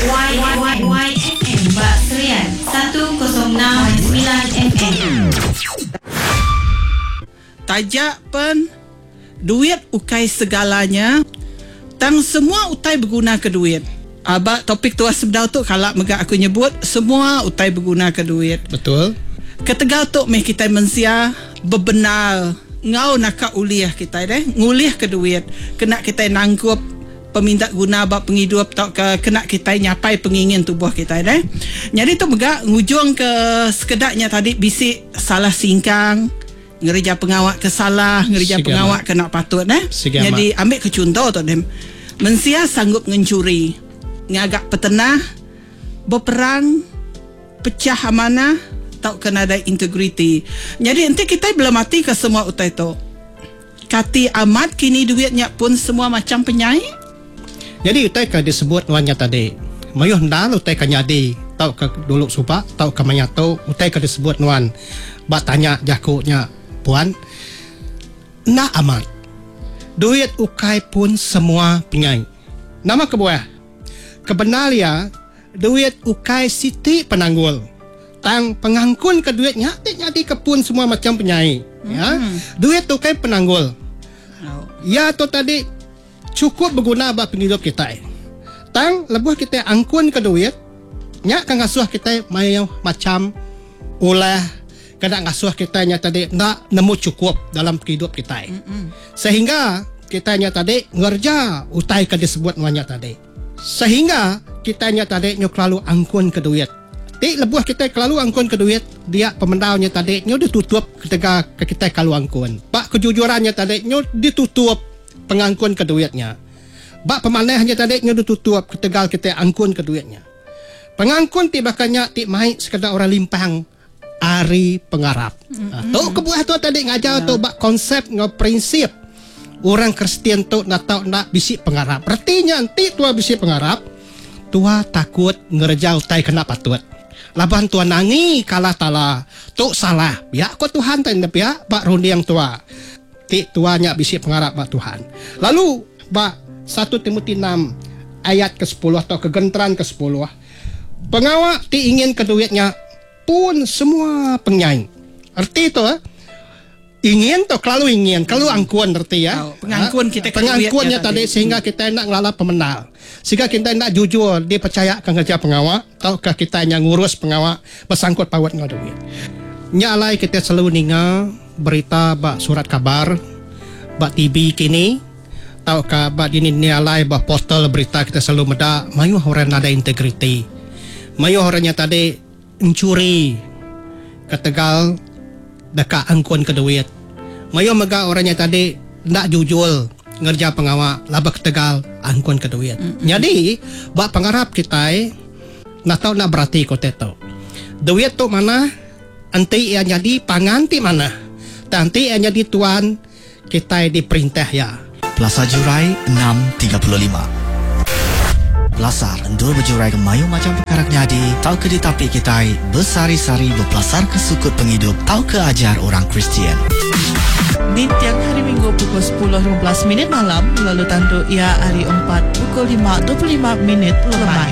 YYYFM ba Serian 106.9 FM. Taja pen duit ukai segalanya tang semua utai begunaka duit. Aba topik tua sebedau tu kala mega aku nyebut semua utai begunaka duit. Betul. Ketegal tu meh kitai mensia bebendar enggau naka ulih kitai deh ngulihka duit kena kitai nangkup peminta guna ba pengidup tauka kena kitai nyapai pengingin tubuh kitai deh. Nyadi tu mega ngujungka sekeda nya tadi bisi salah singkang ngereja pengawa ke salah, ngereja Sigi pengawa amat. ke enda patut deh. Sigi amat. Nyadi ambi ke chunto tu deh mensia sanggup ngenchuri, ngaga petenah, beperang, Pechah amanah tauka nadai integriti. Nyadi enti kitai belematika semua utai tu, kati amat kini duit nya pun semua macham penyai? Nyadi utai ke disebut nuan nya tadi, mayuh endar utai ke nyadi tauka dulu suba tauka maya tu utai ke disebut nuan ba tanya jaku nya puan. Enda amat. Duit ukai pun semua penyai. Nama kebuah? Kebendar iya, Duit ukai siti penanggul. Tang pengangkunka duit nya ti nyadika pun semua macham penyai. Ya. Duit tu ukai penanggul. Iya tu tadi chukup beguna ba pengidup kitai. Tang lebuh kitai angkunka duit, nya ke ngasuh kitai mayuh macham ulah kena ngasuh kitai nya tadi enda nemu chukup dalam pengidup kitai. Sehingga kitai nya tadi ngereja utai ke disebut nuan nya tadi. Sehingga kitai nya tadi nyu kelalu angkun ke duit. Ti lebuh kitai kelalu angkun ke duit, dia pemendar nya tadi nyu ditutup ketegal ke kitai kelalu angkun. Ba kejujuran nya tadi nyu ditutup pengangkun ke duit nya. Ba pemanah nya tadi nyu ditutup ketegal kitai angkun ke duit nya. Pengangkun ti baka nya ti mai sekeda orang limpang ari pengarap. Tu kebuah tu tadi ngajar tu ba konsep enggau prinsip orang Kristian tu enda tau enda bisi pengarap. Reti nya enti tua bisi pengarap, tua takut ngereja utai ke enda patut. Laban tua nangi ke Allah Taala tu salah. Pia ko Tuhan ti enda pia ba runding tua ti tua nya bisi pengarap ba Tuhan. Lalu ba satu Timoti enam ayat ke sepuluh tauka genteran ke sepuluh, pengawa ti inginka duit nya Pun semua pengyai. Reti tu ingin tu kelalu ingin, kelalu angkun reti ya. Tau, pengangkun kita ke Pengangkun duit nya nya tadi tadi. sehingga kita enda ngelala pemendar. Sehingga kita enda jujur dipercayaka ngereja pengawa tauka kita nya ngurus pengawa besangkut paut enggau duit. Nya alai kita selalu ninga berita ba surat kabar, ba TV kini tauka ba dini-dini alai ba portal berita kita selalu meda mayuh orang nadai integriti. Mayuh orang nya tadi Enchuri ketegal deka angkunka duit. Mayuh mega orang nya tadi enda jujur ngereja pengawa laban ketegal angkunka duit. Nyadi ba pengarap kitai enda tau enda beratika utai tu. Duit tu manah enti iya nyadi pangan ti manah tang enti iya nyadi tuan Kitai diperintah iya. Pelasar Jurai 6:35. Pelasar endur bejurai ke mayuh macham pekara ke nyadi tauka ditapi kitai besehari-sehari bepelasarka sukut pengidup tauka ajar orang Kristian. Ninting Hari Minggu pukul 10:15 minit malam lalu tandu iya hari Empat pukul 5:25 minit lemai.